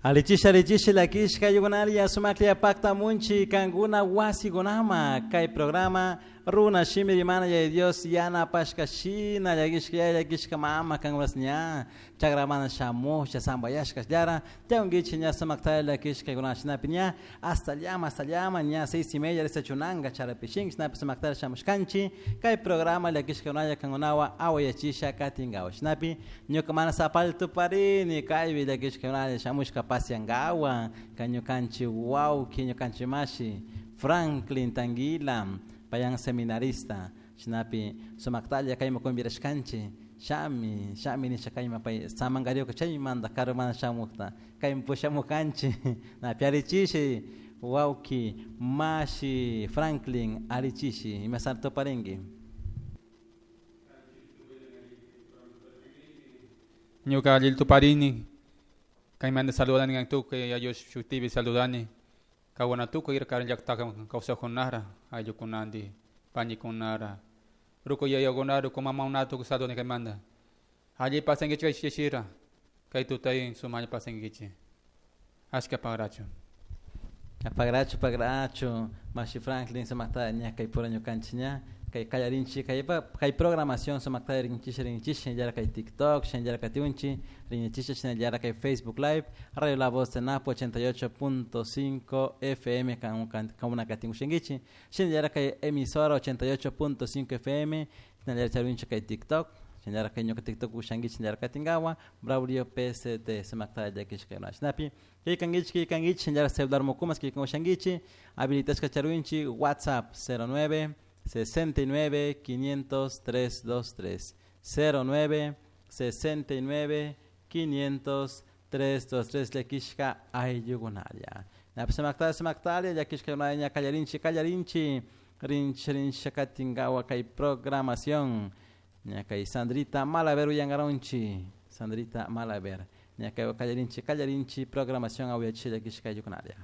Alichisha alichisha llakishka aylluykunaria sumaklla paktamunchi kankuna wasikunama kay programa runa shimi rimana Yaya Dios yanapashka shina llakishka yaya llakishka mama kankunas ña chakramana shamusha zambayashka tiyankichik ña sumaktalla llakishka shinapi ña hasta llama hasta llama ña 6:30 risachunanka charapishinki shinapi sumaktalla shamushkanchik kay programa llakishka kankunawan awayachisha katinkawa shinapi ñuka mana sapalla tuparini kaypi llakishka shamushka pasiankawan kay ñukanchik wawki ñukanchik mashi Franklin Tanguila payan seminarista shinapi sumaktalla kayman convidashkanchik shami shami nisha kayman pay samankarioka chaymanta karumanta shamukta kayman pushamukanchik napi allichishi wawki mashi Franklin allichishi imasata tuparinki. Ñuka allil tuparini kaymanta saludani kan tukuy ayllu shutipi saludani kawana tukuy karan llaktaka kawsakkunara ayllukunanti panikunara ruku yayakunara ruku mamakunata tukuy saludani kaymanta alli pasankichik kay shishira kay tutay sumaklla pasankichik ashka pagrachu. Pagrachu pagrachu mashi Franklin sumakta ña kay pura ñukanchik ña kay kallarinchik kay kay programación sumakta rinchik rinchik shinallara kay TikTok shinallara katiunchik rinchik shinallara kay Facebook Live Radio La Voz de Napo 88.5 FM kankuna katinkushinkichik shinallara kay emisora 88.5 FM shinallara charinchik kay TikTok shinallara kay ñuka TikTok ushankichik shinallara katinkawa Braulio PCT sumakta llakishka shinapi killkankichik killkankichik shinallara celular mukumas killkan ushankichik habilitashka charinchik WhatsApp 09 69 500 323 09 69 500 323 llakishka ayllukunalla napi sumaktalla sumaktalla llakishka ña kallarinchik kallarinchik rinchik rinchik katinkawa kay programación ña kay Sandrita Malaver uyankaronchik Sandrita Malaver ña kay kallarinchik kallarinchik programación awayachik llakishka ayllukunalla.